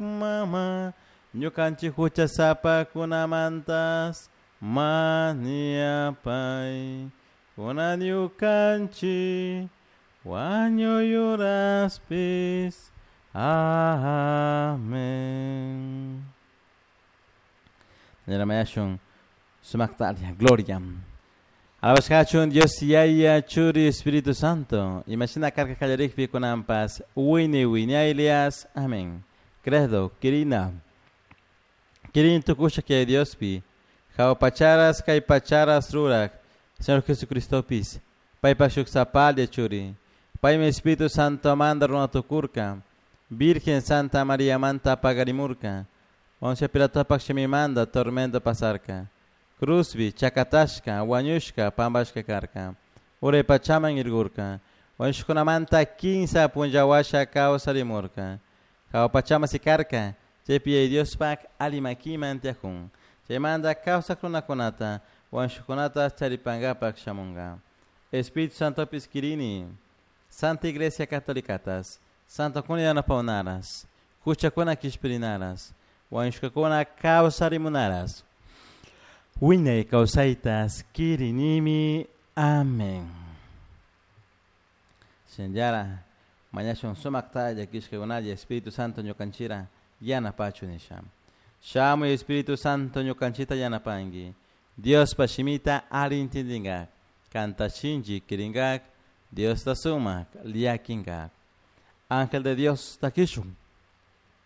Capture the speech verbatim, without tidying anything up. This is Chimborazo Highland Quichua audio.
Mama, ñukanchik huchasapakunamantas mañapay. Kunan ñukanchik wañuy uraspis. Amén. Señora Mayashun, sumaktalia, gloria. Alabashkachun Dios Yaya Churi Espíritu Santo. Imashina karka kallarikpi kunanpas wini wiñaylias. Amén. Credo, kirina. Kirin tukusha que Diospi. Jao pacharas kay pacharas rurak. Señor Jesucristopis. Paypa shuk sapalla churi. Paymi Espíritu Santo manda runa tukurka. Virgen Santa María manta pagarimurka. Poncio Pilatopak shimimanda tormento pasarka. Cruzbi, chakatashka, wañushka, pambashka karka. Uray pachaman irgurka. Wañushkunamanta kinsa punllawasha kawsarimurka. Hawa pachaman sikarka. Chaypi Yaya Diospak alli makiman tiyakun. Chaymanta kawsak runakunata, wañushkunata charipankapak shamunka. Espíritu Santopis kirini. Santa Iglesia Catolicatas. Santokuna yanapawnaras. Huchakuna kishpirinaras. Wañushkakuna kawsarimunaras. Wiñay kawsaytas kirinimi. Amén. Shinallara mañashun sumakta llakishkakunalla Espíritu Santo ñukanchira yanapachu nisha. Shamuy Espíritu Santo ñukanchita yanapanki. Diospa shimita alli intindingak. Kanta shinchi kiringak. Diosta sumak llakinkak. Ángel de Dios takishun.